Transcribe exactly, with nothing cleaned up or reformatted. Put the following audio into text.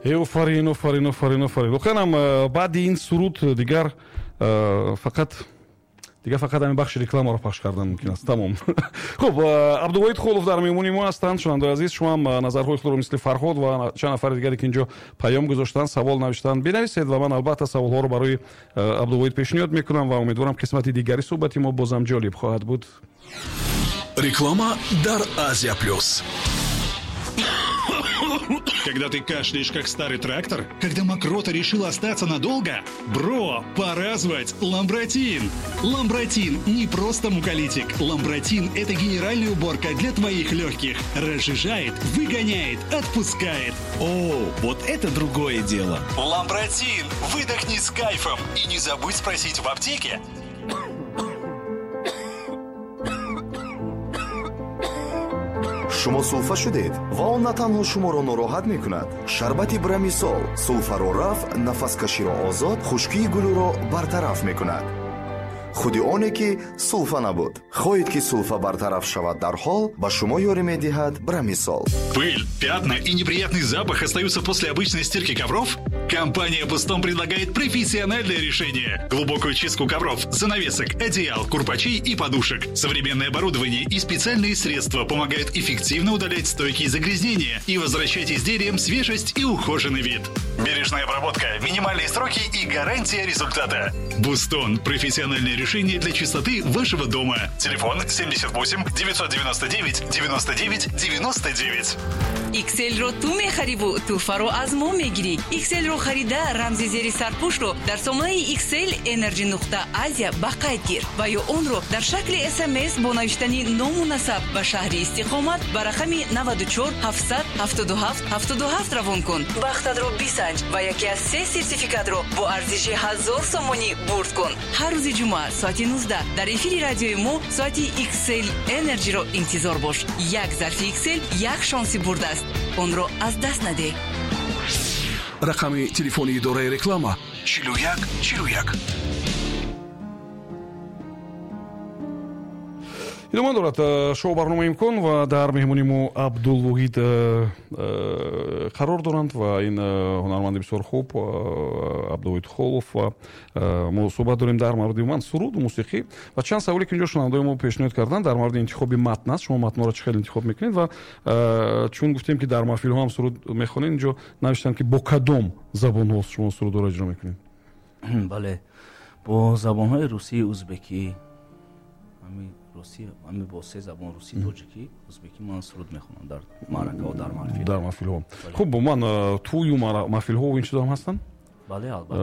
Офарин, офарин, офарин, офарин. Воқеан ҳам баъди ин суруд дигар фақат дигар фақат ҳамин бахши рекламаро пахш кардан мумкин аст. Тамом. Хуб, Абдувоҳид Холов дар меҳмони мо ҳастанд. Шунавандаи азиз, шумо ҳам назарҳои худро мисли Фарҳод ва чанд нафари дигаре ки инҷо паём гузоштанд, савол навиштанд, бинависед ва ман албатта саволҳоро барои Абдувоҳид пешниҳод мекунам ва умедворам қисмати дигари суҳбати мо бозам ҷолиб хоҳад буд. Реклама дар Азия Плюс. Когда ты кашляешь, как старый трактор? Когда мокрота решила остаться надолго? Бро, пора звать Ламбратин! Ламбратин не просто муколитик. Ламбратин – это генеральная уборка для твоих легких. Разжижает, выгоняет, отпускает. О, вот это другое дело. Ламбратин! Выдохни с кайфом и не забудь спросить в аптеке. Шумо сулфа шудед ва он на танҳо шуморо нороҳат мекунад. Шарбати Брамисол сулфаро рафъ, нафаскаширо озод, хушкии гулӯро бартараф мекунад. Худи оне ки сулфа набуд. Хоҳед ки сулфа бартараф шавад дарҳол, ба шумо ёрӣ медиҳад Брамисол. Пыль, пятна и неприятный запах остаются после обычной стирки ковров? Компания «Бустон» предлагает профессиональное решение. Глубокую чистку ковров, занавесок, одеял, курпачей и подушек. Современное оборудование и специальные средства помогают эффективно удалять стойкие загрязнения и возвращать изделиям свежесть и ухоженный вид. Бережная обработка, минимальные сроки и гарантия результата. «Бустон» – профессиональное решение для чистоты вашего дома. Телефон семьдесят восемь девятьсот девяносто девять девяносто девять девяносто девять. Икселро ту мехариву, туҳфаро аз мо мегирӣ. Икселро харида, рамзи зери сарпӯшро дар сомонаи Иксел Energy нуқта Азия ба қайд гир ва ё онро дар шакли СМС бо навиштани ному насаб ва шаҳри истиқомат ба рақами наваду чор ҳафтсад ҳафтоду ҳафт ҳафтоду ҳафт равон кун. Бахтатро бисанҷ ва яке аз се сертификатро бо арзиши ҳазор сомонӣ бурд кун. Ҳар рӯзи ҷумъа соати нуздаҳ дар эфири радиои мо соати Иксел Energy-ро интизор бош. Як зарфи Иксел як шонси бурдааст. Онро аз даст надеҳ. Рақами телефони идораи реклама чилу як чилу як. Идома дорад шоу барномаи «Имкон» ва дар меҳмони мо Абдулвоҳид қарор доранд ва ин ҳунарманди бисёр хуб Абдулвоҳид Холов ва мо суҳбат дорем дар мавриди умуман суруду мусиқӣ ва чанд саволе ки инҷо шунавандаои мо пешниҳод карданд дар мавриди интихоби матн аст. Шумо матнҳоро чӣ хел интихоб мекунед ва чун гуфтем ки дар маҳфилҳо ҳам суруд мехонед, инҷо навиштанд ки бо кадом забонҳо шумо сурудҳоро иҷро мекунед? Бале, бо забонҳои русӣ, узбекӣ, русӣ, ами бо се забон русӣ, тоҷикӣ, узбекӣ ман суруд мехонам дар маъракаҳо, дар маҳфил. Дар маҳфилҳо. Хуб, ман тӯю маҳфилҳо ин чизо ҳам ҳастанд? Бале, албатта.